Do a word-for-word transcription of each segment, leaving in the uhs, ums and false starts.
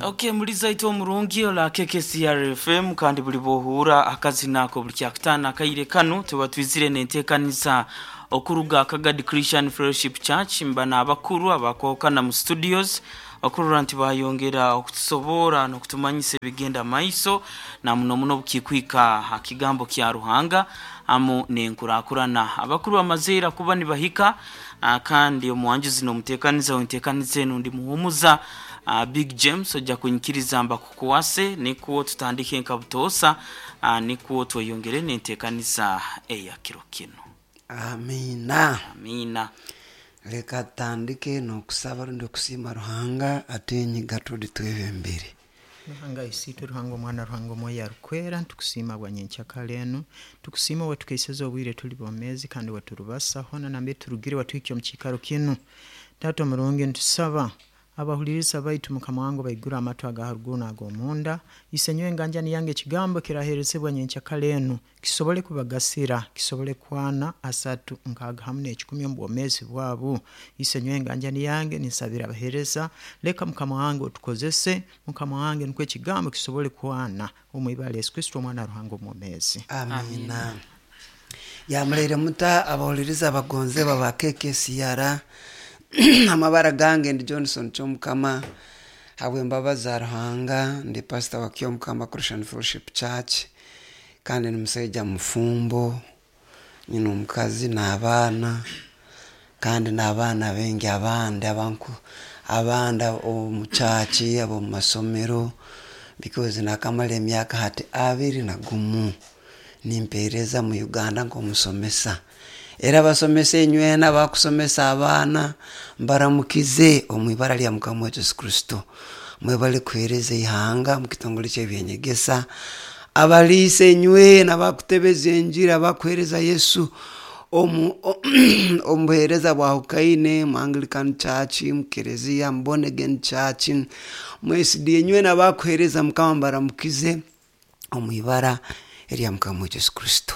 Okay, muliza itwe omurungi ola K K C R F M, kandi buli bwohura akazina ako buli kyakutaano akaire kanu tuba twizire nenteekaniza okuruga Kagadi Christian Fellowship Church, mba n'abakuru abakwahukana mu studios okurora nti bayongera okutusobora n'okutumanyisa ebigenda maiso, na muno muno obukikwika ha kigambo kya Ruhanga amu n'enkurakurana. Abakuru bamazeera kuba nibahika, ah, kandi omuwanjuzi n'omuteekaniza wenteekaniza enu ndi Muhumuza uh, Big James. Ojja kunyikiriza mbakukwase nikwo tutandike nka butoosa, uh, nikwo tweyongere n'enteekaniza eya kiro kinu. Amiina. Amiina. Leka tutandike n'okusaba rundi okusiima Ruhanga atenyiga tudi twebembere. Ruhanga Isiitwe, Ruhanga Omwana, Ruhanga Omwoyo Arukwera, tukusiima bwa nyenkyakara enu. Tukusiima wetukeiseza obwire tuli bomeezi kandi weturubasa hoona nambere turugire watuhikya omu kiikaro kinu. Taata omurungi, nitusaba abahuliriza baitu, Mukama wange, baigure amatu aga haruguru n'ag'omunda. Isenyowe enganjani yange, ekigambo kiraheerezebwa nyenkyakara enu kisobole kubagasira, kisobole kwana asatu, nkaaga hamu n'ekikumi omu bwomeezi bwabo. Isenyowe enganjani yange, ninsabira abaheereza, leka Mukama wange otukozese, Mukama wange, nukwo ekigambo kisobole kwana, omu ibara Yesu Kristo, Omwana wa Ruhanga omwomeezi. Amiina. Yamuleire muta abahuliriza abagonzebwa ba K K C R? Amabara gange ndi Johnson Kyomukama. Habw'embabazi za Ruhanga ndi pastor wa Kyomukama Christian Fellowship Church, kandi ni musaija mufumbo, nyina omukazi n'abaana, kandi n'abaana baingi abandi abanku abandi omu church, ab'omu masomero, because nakamara emyaka hati abiri na gumu nimpeereza mu Uganda nk'omusomesa. Era abasomesa enywena abakusomesa abaana, mbaramukize omu ibara lya Mukama waitu Yesu Kristo. Mwebale kuheereza ihanga mu kitongole ky'ebyenyegesa. Abaliisa enywena abakutebeza enjiri, abakuheereza Yesu omu omu buheereza bwahukaine mu Anglican Church, mu kereziya, mu Born Again Church, mu S D A, enywena abakuheereza Mukama, mbaramukize omu ibara erya Mukama waitu Yesu Kristo.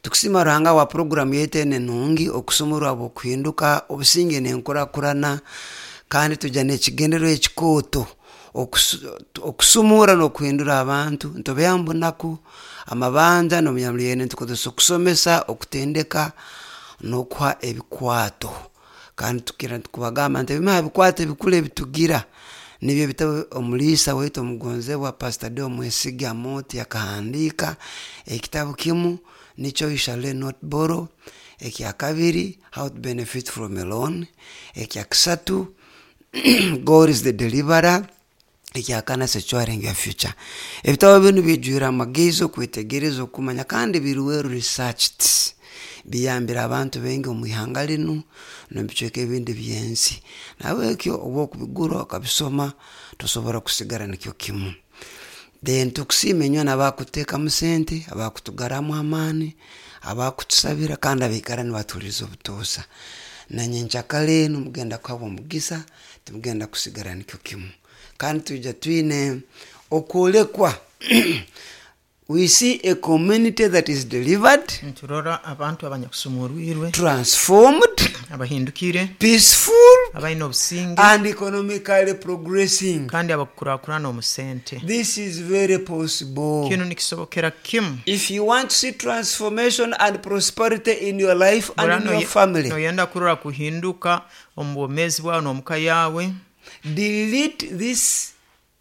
Tukusiima Ruhanga wa puroguramu yaitu enu enungi, okusumurwa habw'okuhinduka, obusinge n'enkurakurana. Kandi tujja n'ekigendererwa ekikooto, okusumura n'okuhindura abantu nitubeha mu bunaku, amabanja n'omunyamulenge. Nitukozesa okusomesa, okutendeka n'okuha ebikwato. Kandi tukira tukubagamba nti ebimu ha bikwato ebikuru ebitugira nibyo ebitabo omuliisa waitu omugonzebwa Pastor Deo Mwesige Amooti akahandiika. Ekitabu kimu nikyo "You Shall Not Borrow", ekyakabiri "How to Benefit from a Loan", ekyakasatu "God Is the Deliverer", ekyakana "Securing Your Future". Ebitabo binu bijwire amagezi, okwetegereza, okumanya, kandi biri well researched. Biyambire abantu baingi omu ihanga linu n'omu bicweka ebindi by'ensi. Nahabwekyo obu okubigura okabisoma, tosobora kusigara nikyo kimu. Then tukusiima enywena abakuteekamu sente, abakutugarramu amaani, abakutusabira, kandi abaikara nibatuhuliiriza obutoosha. Nanyenkyakara enu mugenda kuhabwa omugisa, timugenda kusigara nikyo kimu. Kandi twija twine okwolekwa. We see a community that is delivered, Niturora abantu abanyakusumurwirwe, transformed, abahindukire, peaceful, abaine obusinge, and economically progressing. Kandi abakukurakurana omu sente. This is very possible. Kinu nikisobokera kimu. If you want to see transformation and prosperity in your life and in your family, Noyenda kurora kuhinduka omu bwomeezi bwawe n'omuka yawe, delete this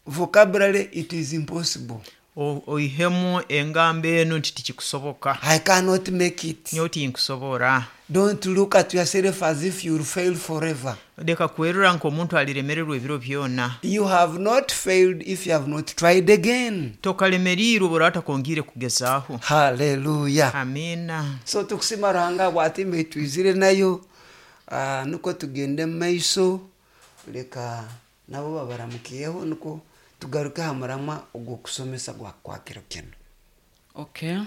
vocabulary "it is impossible." o- oihemu engambo enu nti tikikusoboka. "I cannot make it." Nyowe tinkusobora. Don't look at yourself as if you'll fail forever. Leka kwerora nk'omuntu aliremererwa ebiro byona. You have not failed if you have not tried again. Tokalemeriirwe bw'oraba takongiire kugezaaho. Hallelujah. Amiina. So tukusima Ruhanga bwatimba twizire nayo, uh, nukwo tugende mu maiso. Leka nabo babaramukiyeho nukwo tugaruke ha muramwa ogw'okusomesa gwa kwa kiro kinu. Okay,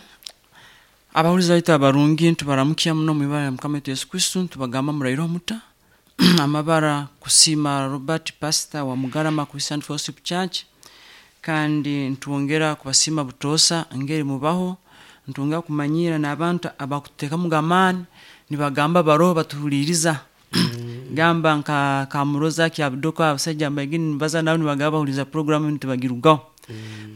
abahulizi baitu abarungi, ntubaramukya muno mu ibara lya Mukama waitu Yesu Kristo. Ntubagamba muraire omuta. Amabara Kusima Robert, pastor wa Mugarama Christian Fellowship Church, kandi ntwongera kubasiima butoosa ngeri mubaho. Ntwongera kumanyira n'abantu abakuteekamu amaani nibagamba baroho batuhuliiriza. Gamba nka Kamuroza Kyabudoka abasajja mbaigini nibaza nabo nibagaba bahuliza programu enu tibagirugaho.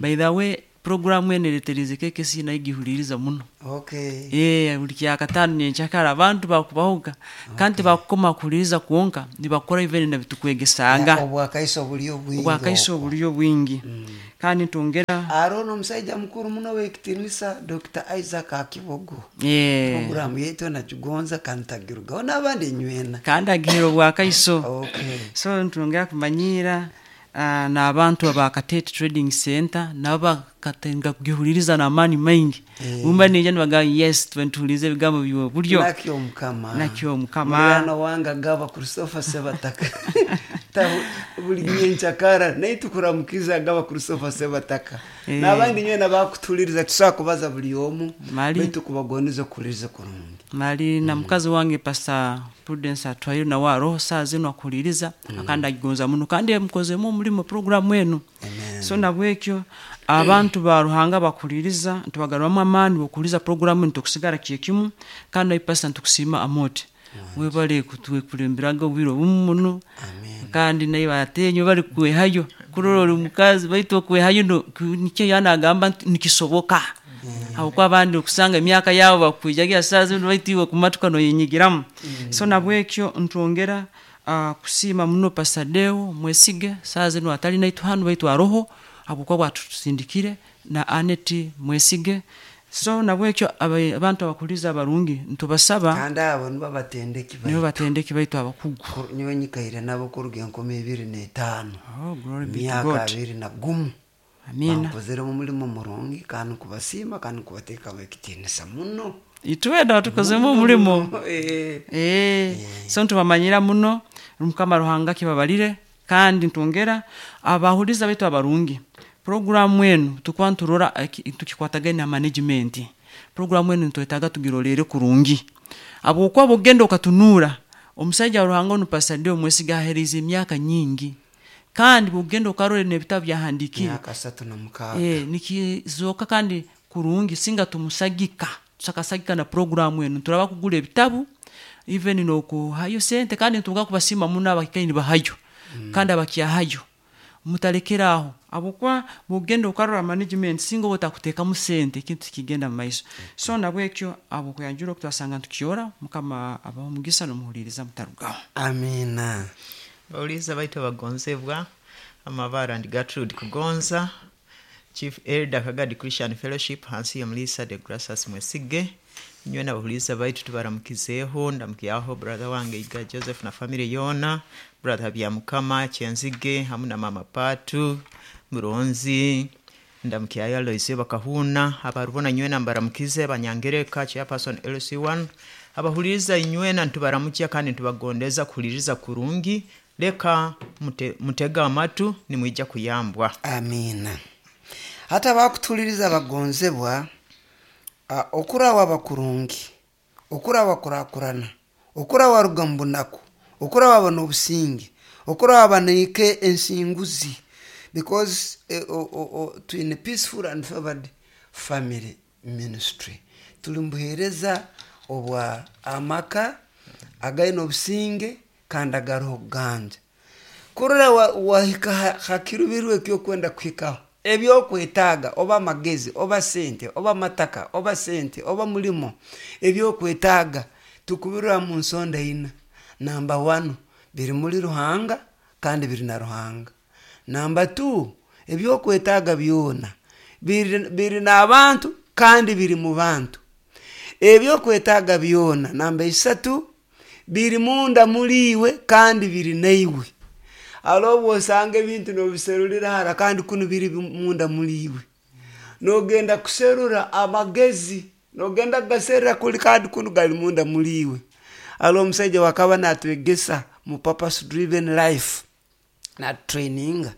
By the way, programu enu ereterize K K C nayo gihuliriza muno. Okay Eh, buli kyakataano nyenkyakara abantu bakubahuga kandi tibakukoma kuhuliriza kwonka, nibakora even nabitukwegesanga. Obwakaiso buli obwingi. Obwakaiso okwo. Buliyo bwingi, kandi ntongera Arono omusaija mukuru muno w'ekitinisa, Doctor Isaac Akibogo. Eh, programu yaitu nakigonza kandi tagirugaho n'abandi enywena. Kandi agihera obwakaiso. Okay so ntongera kumanyira uh, n'abantu aba Katete Trading Center nabo bakatenga kugihuliriza n'amaani maingi. Eh. Bumba nija nibagamba, "Yes, tuwe nituhuliriza ebigambo byowe buryo." Nakyo Mukama. Nakyo Mukama. Mulirano wange agaba Christopher Sebataka. Ta- buli nyenkyakara naye tukuramukiza agaba Christopher Sebataka. Eh. N'abandi nywena bakutuliriza, tusobola kubaza buli omu. Mali. Baitu kubagoniza okuhuliriza kurungi. Mali na mukazi wange Pastor Prudence Atwaire nawe aroho saa zinu akuhuliriza kandi agigonza muno kandi emukozemu omulimo programu enu. Amen. So nabwekyo abantu ba Ruhanga bakuhuliriza ntubagaruramu amaani bokuhuliriza programu enu, tukusigara kyekimu. Kandi nawe pastor ntukusiima amote, webale kutwekulemberaga obwire obumu muno. Amen. Kandi naye batenyo bali kwehayo kurora oli mukazi baitu okwehayo no- ku- nikyo yanagamba nti nikisoboka, habwokuba abandi okusanga emyaka yabo bakwijagira saa zinu baitu iwe kumatuka noyenyigiramu. So nabwekyo ntwongera uh, kusiima muno Pastor Deo Mwesige, saa zinu atali naitu hanu baitu aroho habwokuba bwatusindikire na Aneti Mwesige. So nabwekyo aba- abantu abakuliza abarungi ntubasaba. Kandi abo nibo batendeki nibo baitu. Batendeki baitu abakugu. Kur- nyowe nyikaire nabo kuruga enkumi ebiri n'etaano. Oh, glory be to Emyaka God. abiri na gumu. Amina. Bankozeremu omulimu murungi kandi nkubasiima kandi nkubateekamu ekitiinisa muno. Itwena tukozemu omulimo. Eh. Eh, so ntubamanyira muno, Mukama Ruhanga kibabalire. Kandi ntongera abahuliza baitu abarungi, programu enu tukuba nturora eh, ki- tukikwatagane na management. Programu enu ntwetaaga tugirolere kurungi habwokuba bwogenda okatunura omusaija wa Ruhanga onu Pastor Deo Mwesiga aheereza emyaka nyingi, kandi bwogenda okarora n'ebitabo byahandikire. Myaka asatu na mukaaga. Eh, nikizoka kandi kurungi singa tumusagika, tusakasagika na programu enu turaba kugura ebitabu even nokuhayo sente. Kandi ntuga kubasiima muno abakikaini nibahayo mm. kandi abakyahayo mutalekeraho habwokuba bwogenda okarora management singa oba otakuteekamu sente ekintu tikigenda mu maiso. So nabwekyo abo kuyanjura okutwasanga ntukiora, Mukama abaho omugisa nomuhuliriza mutarugaho. Amina. Bawuliza baitu abagonzebwa, amabara ndi Gertrude Kugonza, Chief Elder Kagadi Christian Fellowship hansi ya Mulisa de Gracias Mwesige. Nywe nabahuliza baitu tubaramukizeeho. Ndamukyaho brother wange Iga Joseph na family yona, brother Byamukama Kyenzige hamu na mama Patu Muronzi. Ndamukyayo Aloisio Bakahuna abarubona. Nywena mbaramukize banyangereka chairperson L C one. Abahuliriza inywena ntubaramukya kandi ntubagondeza kuhuliriza kurungi. Leka mute, mutega amatu nimwija kuyambwa. Amiina. Hati abakutuliriza bagonzebwa, ah, okurawa bakurungi, okurawa kurakurana, okurawa ruga mu bunaku, okurawa bana obusinge, okurawa banaike ensinguzi, because eh, o, o, o, twine Peaceful and Favored Family Ministry, tuli mubuheereza obwa amaka againe obusinge kandi agaroho okuganja kurora wa- wahika ha- hakirubirwe ekyokwenda kuhikaho, ebyokwetaaga oba amagezi oba sente oba amataka oba sente oba mulimo, ebyokwetaaga tukubirira mu nsonda ina. Namba one, biri muri Ruhanga kandi biri na Ruhanga. Namba two, ebyokwetaaga byona biri, biri n'abantu kandi biri mu bantu. Ebyokwetaaga byona namba isatu, biri munda muliiwe kandi biri naiwe. Alo obu osanga ebintu nobiserulira hara kandi kunu biri munda muliiwe, nogenda kuserura amagezi, nogenda kugaserura kuli kandi kunu gali munda muliiwe. Alo omusaija wakaba natwegesa mu Purpose Driven Life natutraininga,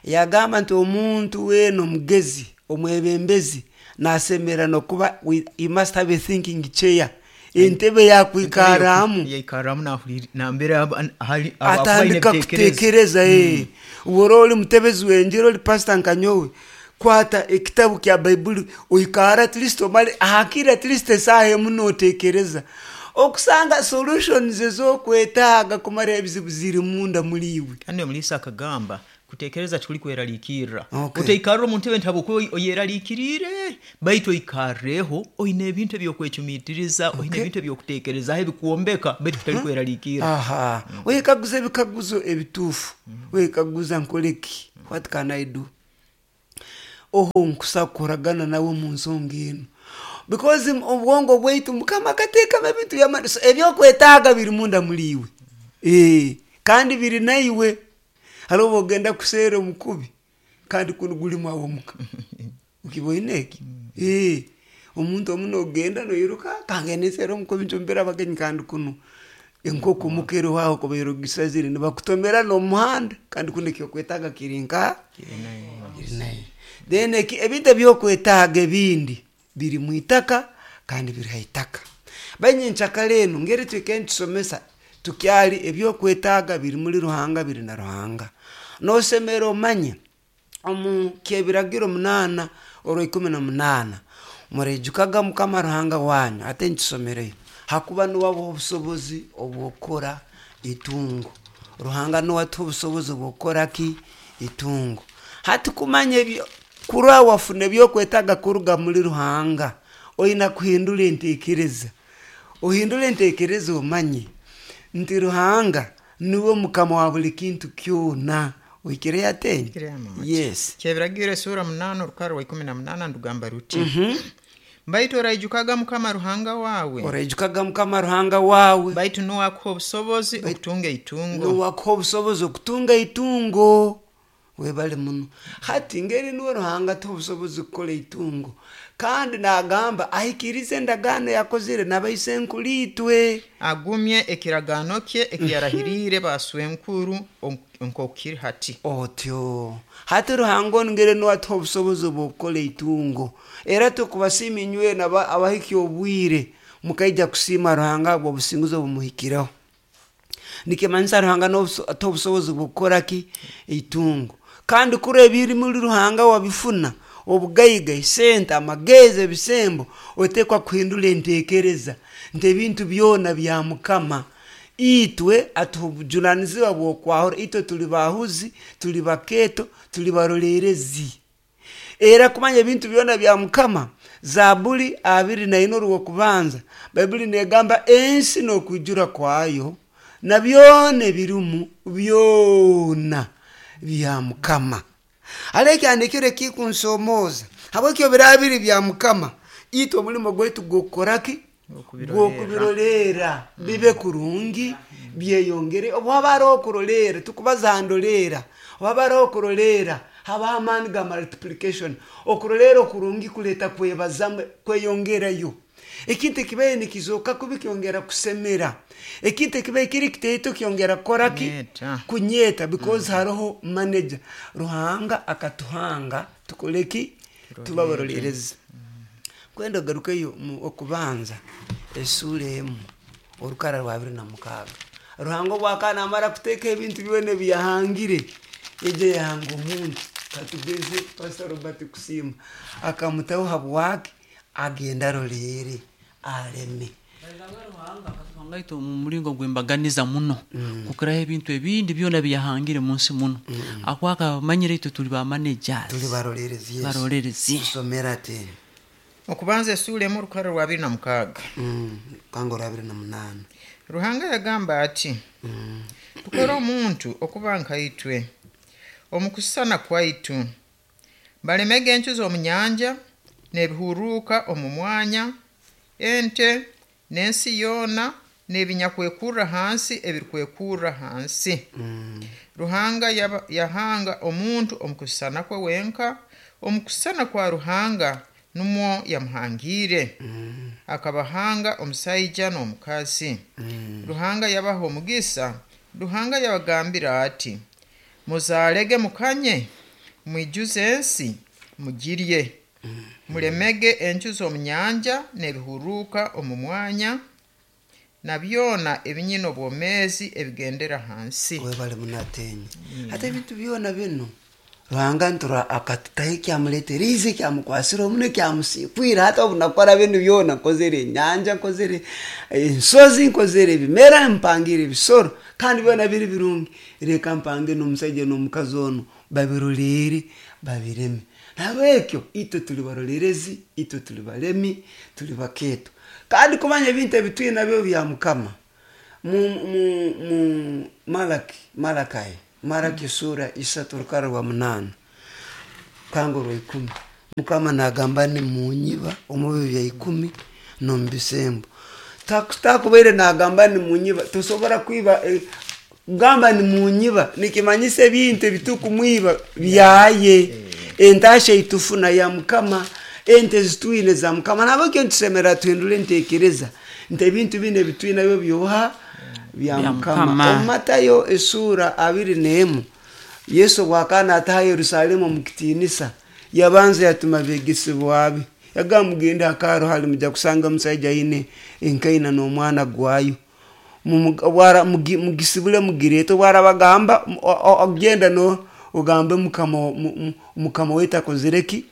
yagamba nti omuntu weena omugezi, omwebembezi nasemera nokuba we- he must have a thinking chair, entebe yakwikaramu. Yaikaramu nahuliri- nambere aba- hali- aba- akuba aine Atandika ebitekerezo. Kutekereza mm. Ubora oli mutebezi wenjira, oli pastor nkanyowe, kwata ekitabu kya Baibuli oikara at least omale hakiri at least esaaha emu notekereza. Okusanga solutions ezokwetaaga kumara ebizibu ziri munda muri iwe. Kandi omulisa akagamba kutekereza tikuli kweraliikirra. Okay. Otaikarra omu ntebe nti habwokuba oyeraliikiriire, baitu oikarreho oine ebintu ebyokwecumiitiriza, oine Okay. ebintu eby'okuteekerezaho ebikwombeka, baitu kutali kweraliikirra. Aha, wekaguza ebikaguzo ebituufu, wekaguza nkoleki, what can I do, oho nkusa kukoragana nawe mu nsonga enu, because m- obwongo bwaitu mukama akateekamu ebintu by'amaani. So ebyokwetaaga biri munda muri iwe. Eh, kandi biri naiwe. Hariho obu ogenda kuseera omukubi kandi kunu gulimu aho omuka ukiboine eki. Eh, omuntu omu nogenda noiruka kangende nseere omukubi ncumbire abagenyi, kandi kunu enkoko muka eriho aho kubaire ogisazire nibakutomera n'omuhanda, kandi kunu ekyokwetaaga kiri nka kiri nayo. Then eki ebintu ebyokwetaaga ebindi biri mu itaka kandi biri ha itaka. Banyenkyakara enu ngeri twike nitusomesa tukyali ebyokwetaaga biri muri Ruhanga, biri na Ruhanga. Nosemera omanye omu kyebiragiro munaana orwa ikumi na munaana, mureijukaga mukama Ruhanga wanyu, ate nkisomereyo, hakuba niwe abuha obusobozi obwokukora itungo. Ruhanga niwe atuha obusobozi obwokukora ki? Itungo. Hati kumanya ebyo kurwa wafuna ebyokwetaaga kuruga muri Ruhanga, oina kuhindura enteekereza. Ohindure enteekereza omanye nti Ruhanga niwe mukama wa buli kintu kyona. Oikireyo atenye? Oikireyo mama. Yes. Kyebiragiro esura munaana orukara rwa ikumi na munaana ndugamba ruti, baitu oraijukaga mukama Ruhanga wawe, Oraijukaga mukama Ruhanga wawe, baitu niwe akuha obusobozi okutunga itungo. Niwe akuha obusobozi okutunga itungo. Webale muno. Hati ngeri niwe Ruhanga atuha obusobozi kukora itungo, kandi nagamba ahikirize endagaano yakozire n'abaisenkuru itwe, agumye ekiragaano kye ekiyarahiriire baswenkuru nk'okukiri hati. Otyo hati Ruhanga onu ngeri niwe atuha obusobozi obwokukora itungo, era tukubasiima inywena aba- abahikya obwire mukaija kusiima Ruhanga habw'obusinguzi obumuhikireho. Nikimanyisa Ruhanga atuha obusobozi bwokukora ki? Itungo. Kandi kuri ebiri muri Ruhanga wabifuna, obugaiga, esente, amagezi, ebisembo, otekwa kuhindura enteekereza nti ebintu byona bya mukama. Itwe atuha obujunanizibwa bw'okwahura. Itwe tuli bahuzi, tuli bakeeto, tuli baroleerezi. Era kumanya ebintu byona bya mukama, Zabuli abiri naina orw'okubanza, Baibuli negamba ensi n'okwijura kwayo na byona ebirimu byona bya mukama. Hariho ekyandikiro ekikunsomooza, habwekyo biraba biri bya mukama, itwe omulimo gwaitu gwokukora ki? Gwokubiroleera bibe kurungi, byeyongere. Obu haba haroho okuroleera, tukubaza ndoleera, obu haba haroho okuroleera habaho amaani ga multiplication. Okuroleera okurungi kuleeta kwebazamu, kweyongerayo. Ekintu ekibaire nikizooka kubi kyongera kusemera, ekintu ekibaire kiri kitaito kyongera kukora ki? Kunyeeta. Kunyeeta, because haroho manager. Ruhanga akatuhanga tukole ki? Tuba baroleerezi. Kwenda ogarukeyo mu Okubanza esuura emu orukara rwa abiri na mukaaga. Ruhanga obu akaba namara kuteeka ebintu byona ebiyahangire, yaija yahanga omuntu, katugeze Pastor Robert Kusiima, akamutaho habwaki? Agenda aroleere aleme. Ruhanga itwe omu muringo gw'embaganiza muno kukiraho ebintu ebindi byona byahangire mu nsi muno, akwaka amanyire itwe tuli ba managers. Tuli baroleerezi, yes. Barolerezi. Tusomera ati Okubanza esuura emu orukara rwa abiri na mukaaga. Mm, kanga orwa abiri na munaana. Ruhanga yagamba ati, tukore omuntu okuba nkaitwe omu kusisana kwaitu, balemege encu z'omu nyanja n'ebihuruuka omu mwanya, ente n'ensi yoona n'ebinyakwekurra hansi ebirikwekurra hansi. Ruhanga yaba- yahanga omuntu omu kusisana kwe wenka, omu kusisana kwa Ruhanga numwo yamuhangiire, akabahanga omusaija n'omukazi. Ruhanga yabaha omugisa. Ruhanga yabagambira ati, muzaalege mukanye, mwijuze ensi mugirye, mulemege encu z'omu nyanja n'ebihuruuka omu mwanya na byona ebinyina obwomeezi ebigendera hansi. Webale munatenye. Hati ebintu byona bino Ruhanga ntura akatutaho ekyamuleeteriize, ekyamukwasire omuno, ekyamusiikwire. Hati obu nakora binu byona, nkozere enyanja, nkozere ensozi, nkozere ebimera, mpangire ebisoro, kandi byona biri birungi. Reka mpange n'omusaija n'omukazi onu babiroleere, babireme. Nahabwekyo itwe tuli barolerezi, itwe tuli balemi, tuli bakeeto. Kandi kumanya ebintu ebi twine nabyo bya Mukama. Mu, mu, mu Malaki, Malakai, Malaki sura isatu rukara rwa munaana kanga orwa ikumi. Mukama nagamba nimunyiba omu bibi bya ikumi n'omu bisembo. Takubaire nagamba nimunyiba, tosobora kwiba eh, kugamba nimunyiba nikimanyisa ebintu ebitukumwiba byaye. Entasha eitufuna ya Mukama, ente zitwine za Mukama. Nabwekyo nitusemera tuhindule entekereza nti ebintu binu ebitwine nabyo byoha bya Bya Mukama. Mukama. Omu Matayo esura abiri n'emu, Yesu obwakaba nataha Yerusalemu omu kitiinisa, yabanza yatuma abeegesebwa be, yagamba mugende akaaro hali mujja kusanga omusaija aine enkaina n'omwana gwayo, Mumu- bwara- mugi- mugisibule mugireete. Obwarabagamba ogenda no ogambe mukama mu- mu- mukama waitu akozire ki?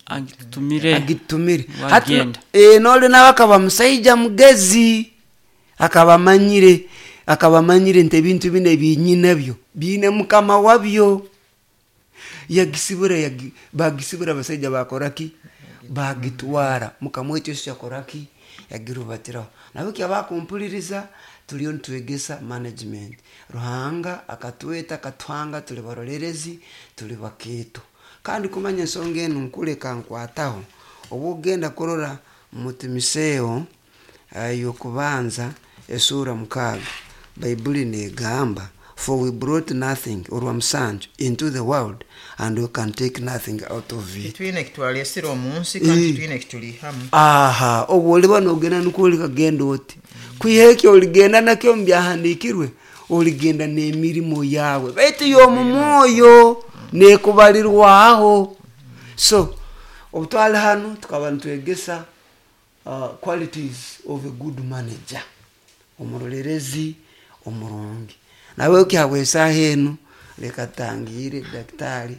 Agitutumire. Agitumire. Hati Wagenda. eh, noli nawe akaba musaija mugezi, akaba amanyire, akaba amanyire nti ebintu bino ebinyinabyo biine mukama wabyo. Yagisibura, yagi, bagisibura abasaija bakoraki? Bagitwara. Mukama waitu Yesu yakoraki? Yagirubatiraho. Nabwo abakumpuliriza tuliyo nitwegesa management. Ruhanga akatweta akatuhanga tuli barolerezi, tuli bakeeto. Kandi kumanya ensonga enu nkuleka nkwataho, obu ogenda kurora mu Timoteyo y'okubanza esura mukaaga, Baibuli negamba, for we brought nothing, orwa musanju, into the world and we can take nothing out of it. Titwine ekitwalesire omu nsi kandi titwine ekitulihamu. Aha, obu oliba nogenda nukwo olikagenda oti kwiha ekyo oligenda nakyo omu byahandiikirwe, oligenda n'emirimo yawe, baitu y'omu mwoyo nekubalirwaho. So obu twali hanu tukaba nitwegesa uh, qualities of a good manager, omurolerezi omurungi. Nawe kyabwa esaaha enu leka tangire daktari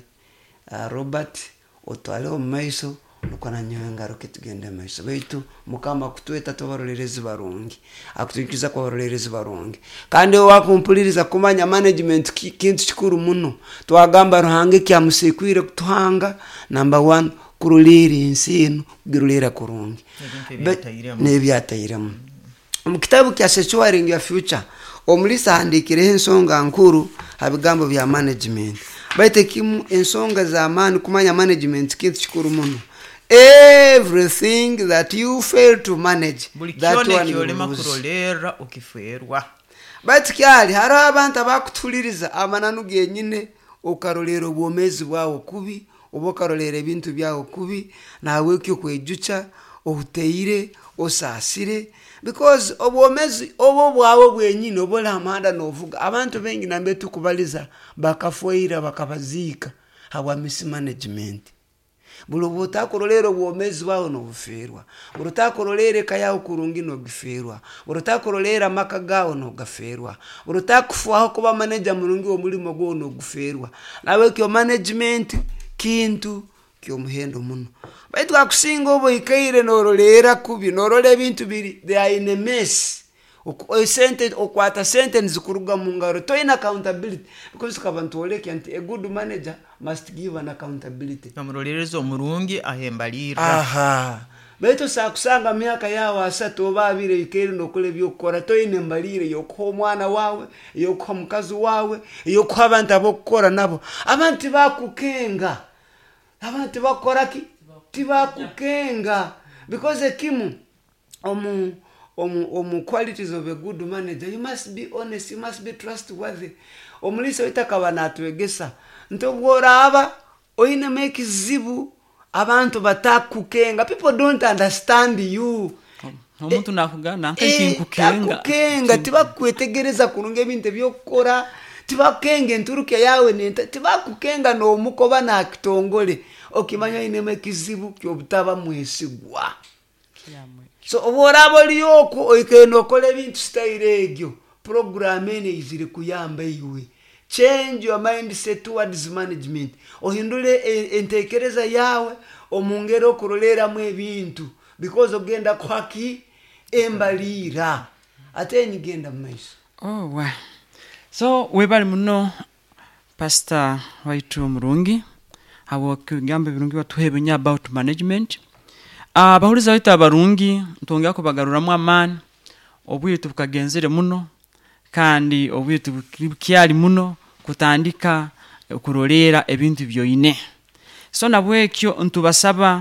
uh, Robert otwale omu maiso, nukwo nanyowe ngaruke tugende omu maiso. Baitu Mukama akutweta tubarolerezi barungi, akutwikiza kuba barolerezi barungi. Kandi owakumpuliriza kumanya management ki, kintu kikuru muno. Twagamba Ruhanga ekyamusiikwire kutuhanga, number one, kuruliira ensi enu, kugiruliira kurungi Ebintu Be- ebyatairemu. N'ebyatairemu. Omu kitabu kya Securing Your Future, omulisa ahandiikireho ensonga nkuru ha bigambo bya management. Baitu ekimu ensonga z'amaani kumanya management kintu kikuru muno. Everything that you fail to manage, Buli that kyona one you ekyolema lose. kurolerra okifeerwa. Baitu kyali hariho abantu abakutuhuliriza amananu genyine, okarolera obwomeezi bwawe kubi, oba okarolera ebintu byawe kubi, nahabwekyo kwejuca ohuteire osaasire, because obwomeezi obo bwawe bwenyine oba oli ha muhanda novuga. Abantu baingi nambe tukubaliza bakafwaira bakabaziika habwa mismanagement. Buli obu otakurolera obwomeezi bwawe nobufeerwa, buli otakurolera eka yawe kurungi nogifeerwa, buli otakurolera amaka gawe nogafeerwa, buli otakufwaho kuba manager murungi w'omulimo gwawe nogufeerwa. Nabwekyo management kintu ky'omuhendo muno. Baitu akusinga oba oikaire norolera kubi, norora ebintu biri they are in a mess. Oku- sente okwata sente nizikuruga mu ngaro, toyina accountability, because tukaba nitwolekya nti a good manager must give an accountability. Omurolerezi omurungi ahembalirra. Aha, baitu sakusanga myaka yawe asatu oba abiri oikaire nokora ebyokukora, toyina embalire yokuha omwana wawe, eyokuha mukazi wawe, eyokuha abantu abokukora nabo. Abantu tibakukenga, abantu tibakukora ki? Tibakukenga, because ekimu omu omu omu qualities of a good manager, you must be honest, you must be trustworthy. Omulisa waitu akaba natwegesa nti obworaaba oinemu ekizibu, abantu batakukenga, people don't understand you. Omuntu nakugana Eh, nkakinkukenga. Takukenga, tibakwetegereza kurungi ebintu ebyokukora, tibakukenga enturuka yawe nenta, tibakukenga n'omukoba nakitongole, okimanya oinemu ekizibu kyobutaba mwesigwa. So obworaba oli okwo oikaire nokora ebintu sitayiro egyo, puroguramu eno eizire kuyamba iwe. Change your mindset towards management. Ohindule e- entekereza yawe omu ngeri okuroleramu ebintu, because ogenda kuhaki embaliira ate nigenda mu maiso. Oh, well. So webali muno, pastor waitu murungi, habw'ebigambo ebirungi watuhebenya about management. Abahuliza baitu abarungi, ntongera kubagaruramu amaani. Obwire tubukagenzere muno kandi obwire tubukyali muno kutandika okuroleera ebintu byoine. So nabwekyo ntubasaba.